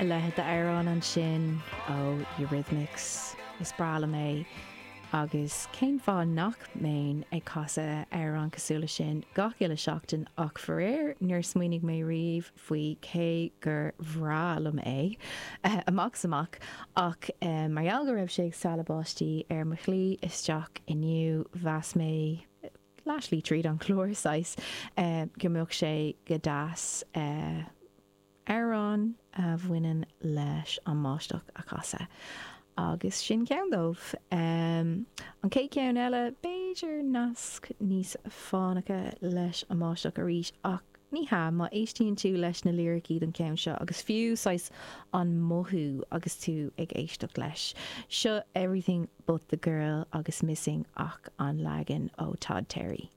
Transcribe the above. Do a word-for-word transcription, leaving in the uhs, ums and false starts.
A leithéid d'amhrán ansin ó Eurythmics is breá liom é agus cén fáth nach mbeinn ag casadh amhrán cosúil leis sin gach uile seachtain ach faraor níor smaoinigh mé riamh faoi cé gur bhreá liom é amach is amach ach mar gheall go raibh sé ag stealladh báistí ar mo shlí isteach inniu mheas mé leathshlí tríd an chlár saghas go mbeadh sé go deas amhrán a bhaineann leis an mbáisteach a chasadh. Agus sin ceann dóibh. An chéad cheann eile, b'fhéidir nasc níos fánacha leis an mbáisteach arís ach ní hea, má éistíonn tú leis na liricí don cheann seo agus fiú saghas an mothú agus tú ag éisteacht leis. Seo Everything But The Girl agus Missing ach an leagan ó Todd Terry.